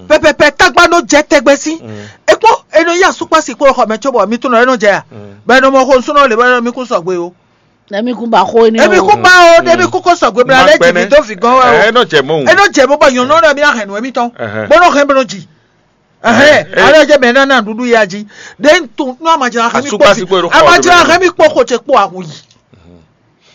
Pɛpɛpɛ tagba nɔ jɛ tɛgbɛ sí. Ekpɔ enɔ yí asukpasi kpo xɔ mɛ cóbɔ mi tunɔ enɔ jɛ ya. Bɛ nɔ mɔ xo nsúnɔ le bɛ nɔ mi kún sɔgbe o. Emi kún ba xó énɛ́. Emi kún ba o, emi kún kó sɔgbe bla lɛ ji mi dó fi gɔn wɛ o. Enɔ jɛ mɔ. Enɔ jɛ mɔ bɔ nyɔnɔ ɖe mi ahɛn nɔ emi tɔn. Bɔ nɔ hɛn bɛ nɔ ji. Ɛhɛn, alɔ jɛ mɛ nana ɖuɖu ya ji. Ɖe n tun nɔ amajira hɛn mi kpɔ si. Amajira hɛn mi kpɔ xo ce kpɔ awu yi.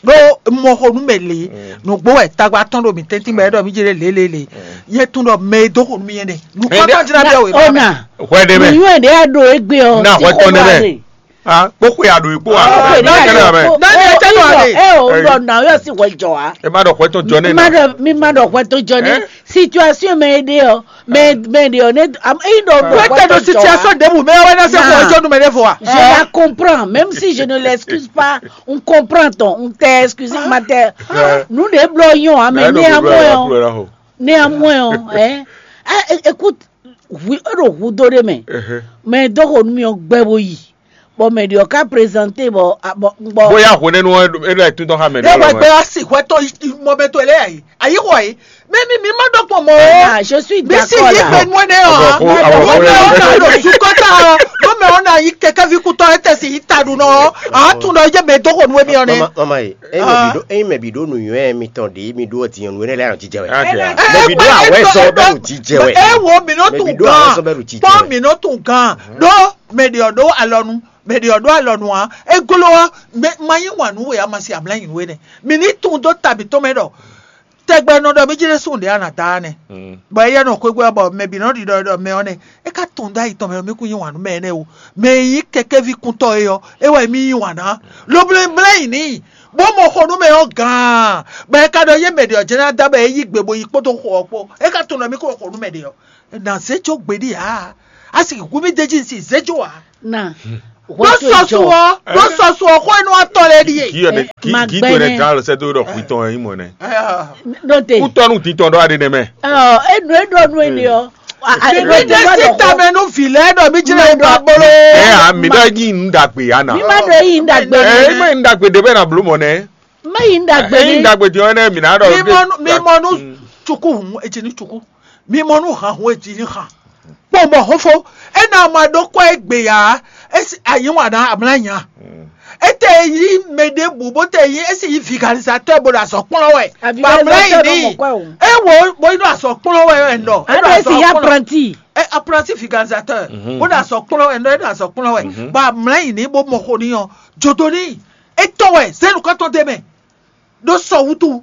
Ɖo mɔ xo nu mɛ le. Nugbo wɛ tagba tɔn ɖo mi tɛntin mɛ ɖɔ mi jɛ lé lé lé. Yɛ tun ɖɔ mɛ e dó xo nu mi yɛ nɛ. Nukɔ tɔn jira bɛ o. Ona. Hwɛ ɖe mɛ. Nuyɔ ɖe a ɖo egbe ɔ. Na hwɛ tɔn ɖe mɛ. Ah, kpókpé a ɖo ikpó a. Kpókpé a ɖo ikpó. Daniel tɛnu a ɖe. Ɛ o ɖɔ na yɔ si hwɛ jɔ wa. E ma ɖɔ hwɛ tɔn jɔ ne. Mi ma ɖɔ mi ma ɖɔ hwɛ tɔn jɔ ne. Situation mɛ e ɖe ɔ, mɛ mɛ ɖe ɔ ne am e ɖɔ ɖɔ hwɛ tɔn jɔ wa. Situation de bu mɛ wɛ na se ko jɔ nu mɛ de fo wa. Je la comprends, même si je ne l'excuse pas, on comprend ton, on t'excuse ma te. Nous des bloyons, mais néanmoins, néanmoins, hein. Ah, écoute, hwi e ɖo hu dó ɖé mɛ. Mɛ dó xo nú mì ɔ́ gbɛ bó yi. Bɔ mɛ ɖě ɔ́ ka prezante bɔ bɔ bɔ Bóyá hwenɛ́nu ɔ́ é ɖo ayǐtúntɔ́ xá mɛ ɖé ɖé wɛ gbé wá sí hwɛtɔ́ mɔbɛtɔ́ lé ayi ayi xɔ yi. Mɛ mi mi ma ɖɔ kpɔn mɔ o. Ah, je suis mi si d'accord yi là. Gbɛ nu ɛnɛ ɔ. Ọkọ àwọn Mo mɛ ɔ na lo sukɔta ɔ. Mo mɛ ɔ na yi kɛkɛ vi kutɔ ete si yi ta ɖu nɔ. A tún ɖɔ yé mɛ dó xo nu emi ɔ nɛ. Mama mama ye, eyi mɛ bi ɖo eyi mɛ bi ɖo nuyɔnɛ mitɔn ɖe mi ɖo diɲɛ nu ne lɛ nɔ jijɛ wɛ. Mɛ bi ɖo awɛ sɔ bɛ nɔ jijɛ wɛ. E wo mi nɔ Mɛ bi tun ɖo awɛ gan. Sɔ bɛ nɔ jijɛ Kpɔn wɛ. Mi nɔ tun gan. Ɖo mɛ ɖe ɔ ɖo alɔnu. Mɛ ɖe ɔ ɖo alɔnu a. Egolo ɔ. Mɛ ma yi wa nu we a ma si abla yi nu we nɛ. Mi ni tun do ta bi tɔn mɛ ɖɔ. Tɛgbɛ nɔ ɖɔ mi jɛ sun ɖe ana da nɛ. Bɔ eyɛ nɔ xwegbe bɔ mɛ bi nɔ ɖi ɖɔ ɖɔ mɛ ɔ nɛ. E ka tun da yi tɔn mɛ ɔ mi kun yi wa nu mɛ nɛ o. Mɛ yi kɛkɛ vi kuntɔ e ɔ. E wɛ mi yi wa na. Lo bla bla yi ni. Bó mɔ xɔ nu mɛ ɔ gan. Bɔ e ka ɖɔ ye mɛ ɖe ɔ jɛ na da bɔ e yi gbe bo yi kpódó xɔ ɔ kpó. E ka tun ɖɔ mi ko xɔ nu mɛ ɖe ɔ. Na zé tso gbeɖi a. A si hu mi deji si zé tso a. Na. Ɖó sɔsu ɔ, ɖó sɔsu ɔ xɔ inú atɔ lɛ ɖi ye. Kí yɔ ne kí kí to ne gã lɔ sɛ do ɖɔ xwitɔn ɛ mɔ nɛ. Ɖo te. Kútɔnu titɔn ɖɔ aɖe nɛ mɛ. Ɔ enu e ɖɔ nu ene ɔ. Mi ɖe si tamɛ nu vi lɛ ɖɔ mi jɛ ɖe ba bolo. Ɛ a mi ɖɔ yi nu dagbe ya na. Mi ma ɖɔ yi nu dagbe. Ɛ ma yi nu dagbe de bɛ na blo mɔ nɛ. Ma yi nu dagbe. Ɛ yi nu dagbe di ɔ nɛ mi na ɖɔ. Mi mɔ nu mi mɔ nu tsuku hun etsi ni tsuku. Mi mɔ nu han hun etsi ni han. Kpɔn bɔ xófó, é ná ma ɖó kɔ́ é gbe ǎ, é sí anyǐ wǎn ná amlá nya. É tɛ yí mɛ ɖěbǔ bó tɛ yí é sì yí vigalizatɔ́ bó ɖo azɔ̌ kplɔ́n wɛ. Bɔ amlá yi ní. É wo bó yi ɖo azɔ̌ kplɔ́n wɛ wɛ nɔ. É ɖo azɔ̌ kplɔ́n. É apprenti vigalizatɔ́. Bó ɖo azɔ̌ kplɔ́n wɛ nɔ é ɖo azɔ̌ kplɔ́n wɛ. Bɔ amlá yi ní bó mɔ xo ní ɔ. Jodo ní. É tɔn wɛ zénu kɔ́tɔn dé mɛ. Ɖó sɔ wútu.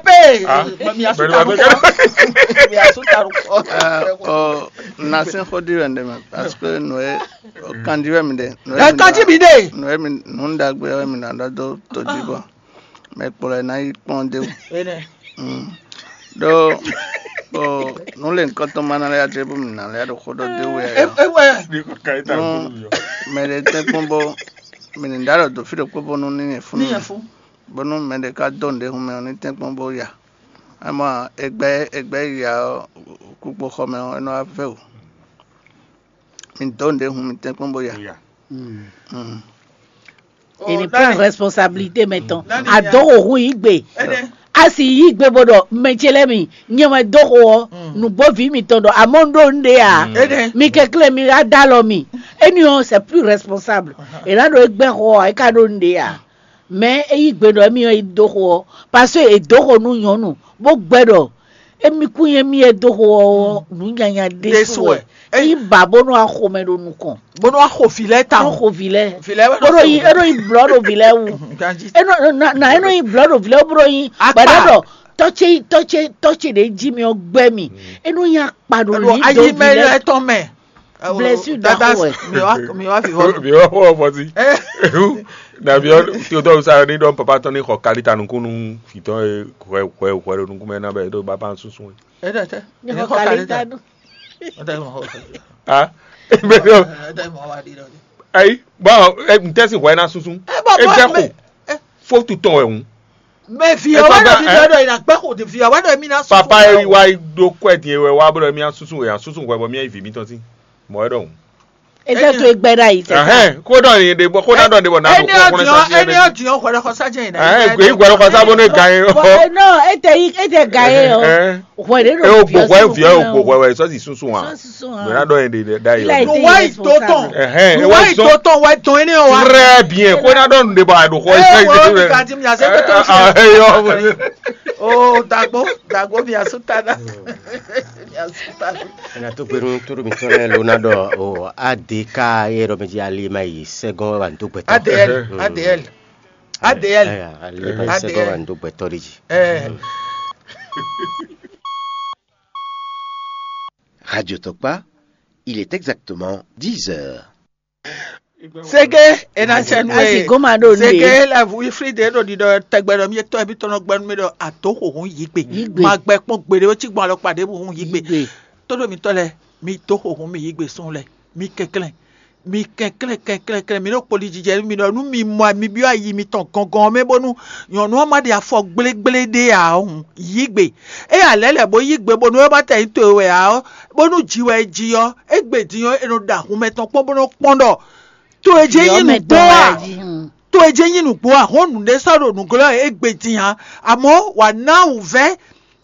pé. Mi asúta nukɔ. Mi asúta nukɔ. Ɔ, na sɛn xó ɖi wɛ ɖe mɛ, parce que nǔ e kanji wɛ mi ɖe. Ɛ kanji mi ɖe. Nǔ e mi nǔ ɖagbe wɛ mi ná ɖɔ dó tojí bɔ mɛ kplɔ ɛ ná yi kpɔ́n dé wú. Ɖó nǔ lě nyǐkɔ tɔn ma ná lɛ́ adré bó mi ná lɛ́ ɖo xó ɖɔ dé wú wɛ. Nú mɛ ɖé tɛ́nkpɔ́n bó mi ní ɖó alɔ dó fí ɖokpó bónú ní nyɛ fún ní nyɛ fún. Bónú mɛ ɖé ka dó nǔɖé hun mɛ ɔ́ ní tɛ́nkpɔ́n bó ya. Amɔ egbɛ egbɛ ya ɔ́ kúkpo xɔ mɛ ɔ́ é nɔ wá vɛ́ wǔ. Mi dó nǔɖé hun mi tɛ́nkpɔ́n bó ya. È ní prend responsabilité mɛ tɔn. Adó xo hun yí gbe. A sì yí gbe bó ɖɔ mɛ ce lɛ́ɛ mi nyɛ wɛ dó xo ɔ́ nǔgbó vǐ mitɔn ɖɔ amɔ́ un ɖó un ɖe ǎ. Mi kɛnklɛ́n mi wá dó alɔ mi. Éni ɔ́ c'est plus responsable. È nǎ ɖo é gbɛ́ xo ɔ́ é ka ɖó un ɖe ǎ. Mɛ é yí gbe ɖɔ émí ɔ́ yi dó xo ɔ́, parce que è dǒ xo nú nyɔ̌nu bó gbɛ́ ɖɔ émí kún nyí émí e dó xo ɔ́ nǔ nyanya ɖésú wɛ. É yí ba bónú axo mɛ ɖo nukɔn. Bónú axo vǐ lɛ́ɛ tawun. Axo vǐ lɛ́ɛ. Vǐ lɛ́ɛ wɛ nɔ bónú yi é nɔ yi blɔ̌ ɖo vǐ lɛ́ɛ wú. É nɔ na na é nɔ yi blɔ̌ ɖo vǐ lɛ́ɛ wú bónú yi gbɛɖɔ ɖɔ tɔ́ ce tɔ́ ce tɔ́ ce ɖě jí mi ɔ́ gbɛ́ mi. É nɔ nyi akpa ɖo lǐ dó vǐ lɛ́ɛ. Blessure ɖaxó wɛ. Mi wá mi wá fi hɔ. Mi wá hɔ bɔ sí. Ehu, na mi ɔ tí o tɔ sa ni dɔ papa tɔn ni xɔ kalita nukun nu fitɔ ye hwɛ hwɛ hwɛ ɖo nukun mɛ na bɛ ɖo baba sunsun ye. Ɛ dɛ tɛ. Ni xɔ kalita nu. Ɛ dɛ mɔ hɔ. Ah, mɛ dɔ. Ɛ dɛ mɔ wa di dɔ. Ayi, bon, n tɛ si hwɛ na sunsun. E gbɛ ko. Fo tutɔ wɛ hun. Mɛ vi ɔ́ wá ɖɔ mi ɖɔ ɖɔ ìnà gbẹ́ kò dé vi ɔ́ wá ɖɔ mi ná sùn. Papa e wá ɖó kwɛ din wɛ wá bɔ mi ná susu wɛ ná susu wɛ bɔ mi ná yi vi mi tɔn sí. Mɔ ɛ ɖɔhun. Ete to egbe ɖa yi tɛ. Ɛhɛn, ko ɖɔ yin ɖe bɔ ko ná ɖɔ ɖe bɔ ná ɖo kɔ kɔnɛ sa. Ɛni ɔdun ɔhwɛ ɖɔ kɔsa jɛ yìí. Ɛhɛn, gbɛ yi gbɛ ɖɔ kɔsa bɔ ne gan yi. Bɔ no ete yi ete gan yi o. Hwɛ ɖe ɖo. E o gbɔ hwɛ fi o gbɔ hwɛ wɛ sɔsi susu wa. Mɛ ná ɖɔ yin ɖe ɖa yi. Nuwa yi to tɔn. Ɛhɛn, nuwa yi to tɔn wa tɔn yi ne wa. Très bien, ko ná ɖɔ nu ɖe bɔ a ɖo xɔ yi. Ɛ wɔ mi ka ti mi ase pɛtɛ o fi. Eyɔ. O dagbo dagbo mi asu ta na. Mi asu ta na. Ena tó gbenu tó ɖo mitɔ lɛ ló ná ɖɔ o A D K ye ɖɔ mi jí ali ma yi sɛgɔn wa ndo gbɛtɔ. A D L A D L A D L. Ali ma yi sɛgɔn wa ndo gbɛtɔ ɖe jí. Ɛ. Radio Tɔkpa, il est exactement dix heures. Sege ena sɛnu e. Asi goma ɖo nu. Sege la vu ifri de ɖo ɖiɖɔ tɛgbɛ ɖɔ mi tɔ ebi tɔnɔ gbɛnu mi ɖɔ ato xoxo yigbe. Yigbe. Ma gbɛ kpɔn gbeɖe wo ci gbɔn alɔkpa ɖe bu hun yigbe. Yigbe. Todo mi tɔ lɛ mi to xoxo mi yigbe sun lɛ mi kɛnklɛn. Mi kɛnklɛn kɛnklɛn kɛnklɛn mi ɖo kpoli jijɛ mi ɖɔ nu mi mɔ mi byɔ ayi mitɔn gɔngɔn mɛ bónú nyɔnu ɔ́ ma ɖe afɔ gblégblé ɖé ǎ hǔn yí gbe. Ényí a lɛ̌ lɛ̌ bó yí gbe bónú é ma tɛ nyí towe wɛ ǎ ɔ́, bónú ji wɛ é ji ɔ́, égbé din ɔ́, è nɔ ɖo ahun mɛtɔn kpɔ́n bó nɔ kpɔ́n ɖɔ to e jɛ nyí nǔgbó a? To e jɛ nyí nǔgbó a? Hɔn nǔɖé sɔ́ ɖo nǔglɔ́ e égbé din ǎ. Amɔ̌ wǎ ná wǔvɛ́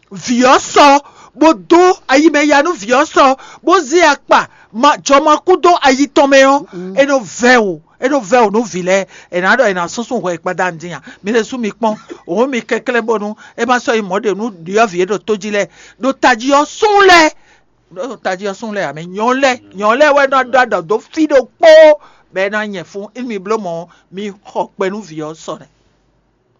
vǐ ɔ́ sɔ, bó dó ayi mɛ ya nú vǐ ɔ́ sɔ, bó zé akpa jɔmakú dó ayi tɔn mɛ ɔ́, é nɔ vɛ́ wǔ. É nɔ vɛ́ wǔ nú vǐ lɛ́ɛ, è nǎ ɖɔ è nǎ súnsún hwɛ gbadanu din a? Mi ɖésú mi kpɔ́n, òun mi kɛnklɛ́n bónú é má sɔ́ yi mɔ̌ ɖe nú ɖyɔ̌vǐ e ɖo tó jí lɛ́ɛ, ɖo tají ɔ́ sún lɛ́ɛ, ɖo tají ɔ́ sún lɛ́ɛ ǎ, mɛ nyɔ̌nu lɛ́ɛ, nyɔ̌nu lɛ́ɛ wɛ nɔ ɖɔ ɖɔ dó fí ɖokpó, bɔ é ná nyɛ fún. Imi bló mɔ̌, mi xɔ kpɛ nú vǐ ɔ́ sɔ nɛ́.